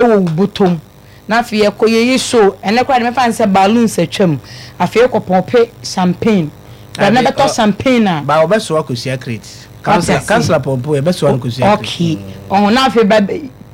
Wɔ wo bɔtɔ mu na afei yɛkɔ yɛyi show ɛnɛ koraa deɛ mɛfa no sɛ balloons atwam afei yɛkɔ pɔmpe champagne bra na bɛtɔ champagne a. Ba wɔbɛsoa kosua crate. Councillor councillor pɔmpo yɛbɛsoa no kosua crate. Okay ɔho na afei ba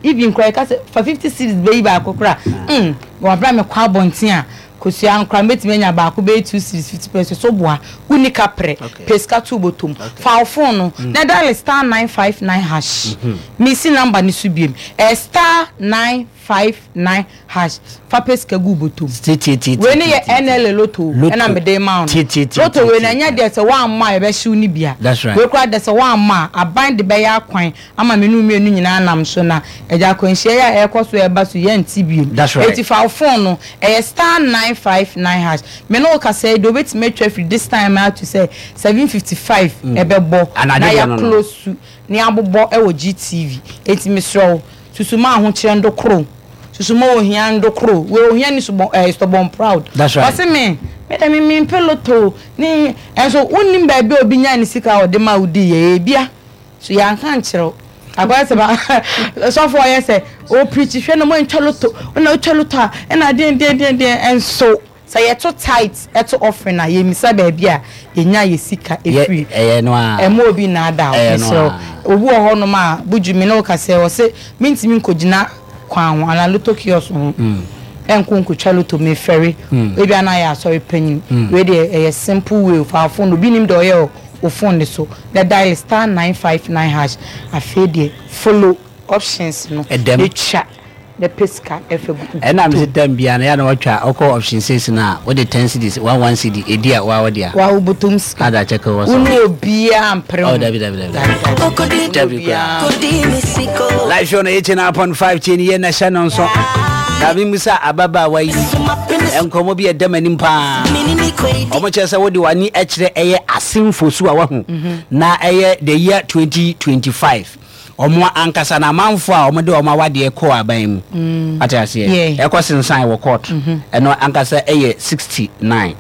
even koraa yɛka sɛ fa 50 cedis bɛyi baako koraa mm wɔ abira mekɔ abɔnten a kosua no koraa mɛtumi anya baako bɛyɛ 2 cedis 50 pesewas so boa wonni kaprɛ pɛ sika to wo bɔtɔ mu fa wo phone no na dial star 959 hash mesi number no so biom ɛyɛ star 959 hash fa pɛ sika gu wo bɔtɔ mu wei no yɛ NLA lotto ɛna mede ma wo no lotto wei no ɛnyɛ deɛ sɛ woammɔ a yɛbɛhyew no bia wei koraa deɛ sɛ woammɔ a aban de bɛyɛ akwan ama me ne wo mmienu nyinaa nam so na agya akwanhyia yi a ɛrekɔ so ɛreba so yɛnte biom enti fa wo phone no ɛyɛ star 959 hash me ne wo kasa yi deɛ wobɛtumi atwa afiri this time ara to sɛ 7:55 ɛbɛbɔ na yɛ close na yɛabobɔ wɔ GTV enti mesrɛ wo susu ma ahokyerɛ ndo koro susu ma ohia ndo koro wei ohia ni subɔn ɛɛ stubborn proud ɔse me me deɛ me mempɛ lotto ne ɛnso wonnim baabi a obi nyaa ne sika a ɔde ma wo dii yɛ ebia So yɛanka ankyerɛ wo? Akɔyɛ sɛ ba sɔfo ɔyɛ sɛ ɔpreach hwɛ na moantwa loto na wotwa loto a ɛna deɛn deɛn deɛn deɛn ɛnso sɛ yɛto tithe ɛto offering a yɛmmisa baabi a yɛnya yɛ sika ɛfiri. Ɛyɛ no ara. Ɛmma obi nnaadaa wo Ɛyɛ no mesrɛ wo. ara. Obi wɔ hɔnom a Buju me ne wo kasa yi ɔse mentumi nkɔgyina kwan ho anaa loto kiosk ho ɛnkɔ nkɔtwa loto mefɛre ebia na ayɛ asɔre panyin wei deɛ ɛyɛ simple way fa wo phone obi nim deɛ ɔyɛ o. wo phone no so na dial star 959 hash afei deɛ follow options no Ɛdɛm. na twa na pɛ sika ɛfa gu Ɛna mese tom. time biara no yɛ a na watwa wokɔ option six no a wode ten cedis one one cedi ɛdi a woa wode a. Woa wo bɔtɔm sika. Ada kyɛke wɔ Wo so. ne obiara mpere Oh ho. dabi dabi dabi Dabi dabi. dabi. Wo ne Dabi koraa. obiara mpere. Live show no 89.5 tie ne yie na hyɛ no nso. Na memusa ababaawa yi nkɔmmɔ bi a ɛda m'anim paa. Wɔn kyerɛ sɛ wode w'ani kyerɛ ɛyɛ asenfo so a wahu na ɛyɛ the year 2025 wɔn ankasa na amanfo a wɔde wɔn awadeɛ kɔɔ aban mu mm. ate aseɛ ɛkɔ sensan wɔ court mm-hmm. ɛno ankasa ɛyɛ 69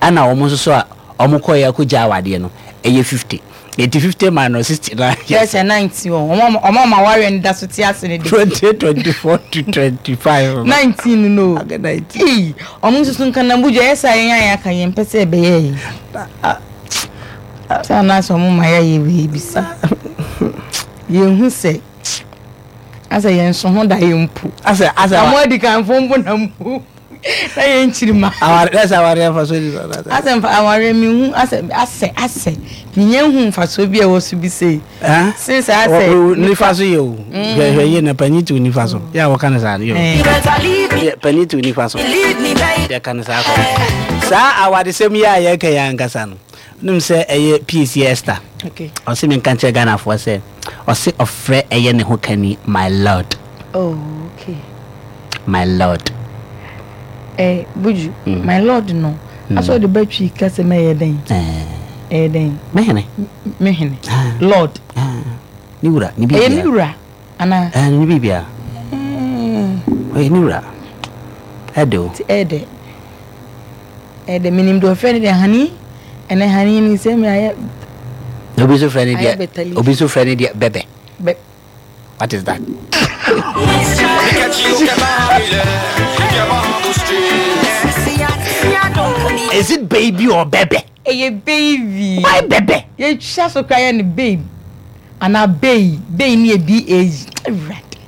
ɛna wɔn nso so a wɔn kɔɛ akɔgya awadeɛ no ɛyɛ 50 Eti 50 minus 69 yɛ sɛ 19 o. Ɔmo ɔmo ɔmo awareɛ no da so te ase ne de. 2024 to 25. 19 no. Aga 19. Ee, ɔmo nso so nkanambu dwa yɛ sɛ yɛn a yɛaka yɛn mpɛ sɛ ɛbɛyɛ yi. Sɛ anaasɛ ɔmo ma yɛayɛ wei bi sa. Yɛn hu sɛ asɛ yɛn so ho da yɛn mpo. Asɛ asɛ. Ɔmo adi kan fo mpo na mpo. Na yɛn kyiri ma. Aware ɛsɛ awareɛ mfasoɔ ni so. Asɛ nfa awareɛ mi hu asɛ asɛ asɛ mi nyɛ hu mfasoɔ bi a ɛwɔ so bi sei. Since asɛ. Nifa so yɛ o. Hwɛ hwɛ yie na panyin ti o nifa so. Yɛ a wɔka ne saa no yɛ. Panyin ti o nifa so. Yɛ ka ne saa kɔ. Saa awadesɛm yi a yɛka yɛ ankasa no. Nim sɛ ɛyɛ PAC Esther. Okay. Ɔse mi nka nkyerɛ Ghanafoɔ sɛ ɔse ɔfrɛ ɛyɛ ne ho kani my lord. Oh okay. My lord. Eh, Buju, mm. my lord no. Mm. Aso de batwi kasa ma yɛ dɛn? Eh. Ɛyɛ dɛn? Mehene. Mehene. Ah. Lord. Ah. Ne wura, ne bibia. Ɛyɛ ne wura ana? Eh, ne bibia. Mm. Ɛyɛ ne wura. Ɛde o. Ti ɛde. Ɛde menim deɛ ɔfrɛ ne deɛ hani. Ɛnɛ hani ni sɛ me ayɛ. Obi so frɛ ne deɛ. Obi so frɛ ne deɛ bɛbɛ. Bɛ. What is that? Is it baby or bebe? Ɛyɛ baby. Why bebe? Yɛtwa so kora yɛ no babe anaa bay bay ne yɛ b a g awurade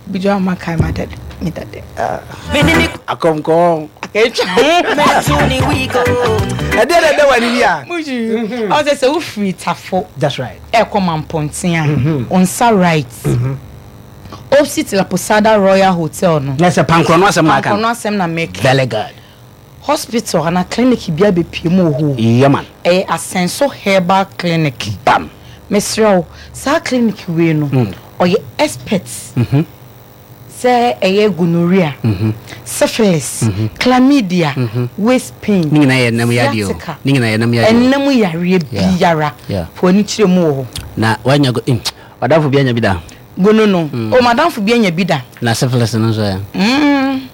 bi dwa ma kae ma dade me dade. Akɔmkɔm. Akɛtwa ho. Ɛdeɛ na ɛdɛ wɔ ani bi a. Muju ɔsɛ sɛ wofiri tafo. That's right. Ɛkɔ Mampɔnten a, wo nsa right, opposite La Posada Royal Hotel no. Na sɛ pankorɔ no asɛm na aka no. Pankorɔ no asɛm na meka. Very good. Hospital anaa clinic bi abɛpue mu wɔ hɔ o. Yeah man. Ɛyɛ Asɛnso Herbal Clinic. Bam. Mesrɛ wo, saa clinic wei no, ɔyɛ expert. Sɛ ɛyɛ gonorrhea, syphilis, chlamydia, waist pain, sciatica, ɛnna mu yareɛ biara, fa w'ani kyerɛ mu wɔ hɔ. Na wanya go eh, w'adamfo bi anya bi da? Gono no, oh m'adamfo bi anya bi da. Na syphilis no nso ɛ?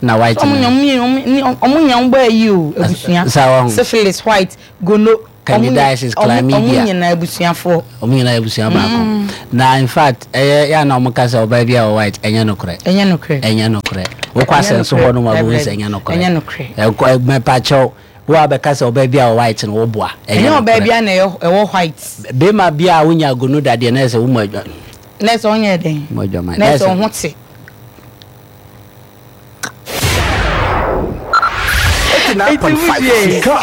Na white no? Ɔmo nya ɔmo nya ɔmo bɔ ayi o, abusua. Syphilis, white, gono. Candidiasis, chlamydia. Ɔmo nyinaa abusuafoɔ. Ɔmo nyinaa abusua baako. Na in fact ɛyɛ yɛ a na ɔmo ka sɛ ɔbaa bi a ɔwɔ white ɛnyɛ nokorɛ. Ɛnyɛ nokorɛ. Ɛnyɛ nokorɛ. Wokɔ asɛnso hɔ nom a wobɛhu sɛ ɛnyɛ nokorɛ. Ɛnyɛ nokorɛ. Ɛkɔ mɛpakyɛw wo a bɛka sɛ ɔbaa bi a ɔwɔ white no woboa. Ɛnyɛ ɔbaa bi a na ɛwɔ white. Bɛrima bi a wonya gonoda deɛ na ɛsɛ wo mu adwa. Na ɛsɛ ɔnyɛ dɛn. Mu adwaman. Na ɛsɛ ɔho te. 89.5 Sika.